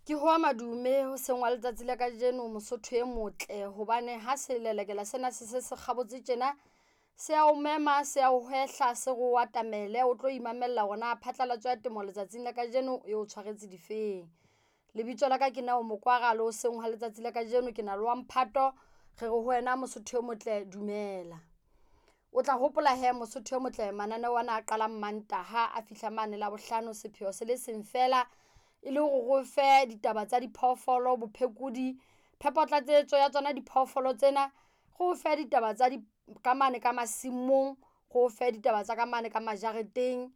Ke hoa madume hoseng wa letsatsi la kajeno Mosotho e motle hobane ha selelekela sena se se se kgabotse tjena se ao mema se ao hwehla se re o atamele o tlo imamella hore na phatlalatso ya temo letsatsing la kajeno e o tshwaretse difeng. Lebitso la ka ke Neo Mokwara le hoseng ha letsatsi la kajeno ke na le wa mphato re re ho wena Mosotho e motle dumela. O tla hopola hee Mosotho e motle mananeo ana a qalang Mantaha a fihla mane Labohlano sepheo se le seng feela e le hore re o fe ditaba tsa diphoofolo, bophekodi, phepo tlatsetso ya tsona diphoofolo tsena. Re o fe ditaba tsa di ka mane ka masimong, re o fe ditaba tsa ka mane ka majareteng,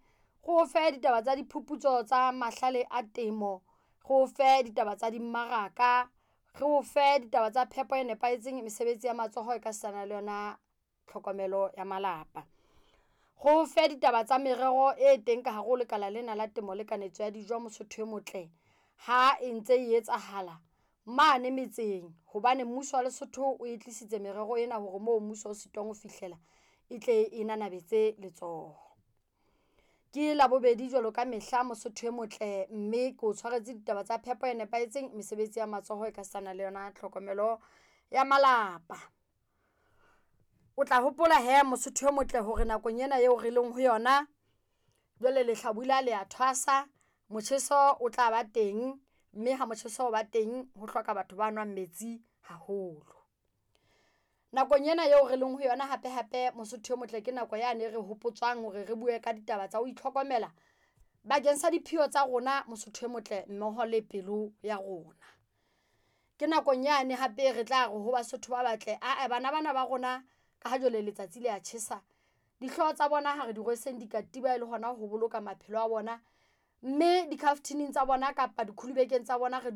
re o fe ditaba tsa diphuputso tsa mahlale a temo, re o fe ditaba tsa dimmaraka, re o fe ditaba tsa phepo e nepahetseng, mesebetsi ya matsoho e ka sitana le yona tlhokomelo ya malapa. Re o fe ditaba tsa merero e teng ka hare ho lekala lena la temo le kanetso ya dijo Mosotho e motle ha e ntse e etsahala mane metseng hobane mmuso wa Lesotho o e tlisitse merero ena hore moo mmuso o sitwang ho fihlela e tle e nanabetse letsoho. Ke Labobedi jwalo ka mehla Mosotho e motle, mme ko tshwaretse ditaba tsa phepo e nepahetseng, mesebetsi ya matsoho e ka sitana le yona tlhokomelo ya malapa. O tla hopola hee Mosotho e motle hore nakong ena eo re leng ho yona jwale lehlabula le ya thwasa, motjheso o tla ba teng mme ha motjheso o ba teng ho hloka batho ba nwang metsi haholo. Nakong ena eo re leng ho yona hape hape Mosotho e motle ke nako yane re hopotswang hore re bue ka ditaba tsa ho itlhokomela bakeng sa diphio tsa rona Mosotho e motle mmoho le pelo ya rona. Ke nakong yane hape re tla re ho Basotho ba batle ae bana ba na ba rona ka ha jwale letsatsi le ya tjhesa, dihlooho tsa bona ha re di rweseng dikatiba e le hona ho boloka maphelo a bona, mme dikhafthining tsa bona kapa dikulubekeng tsa bona re.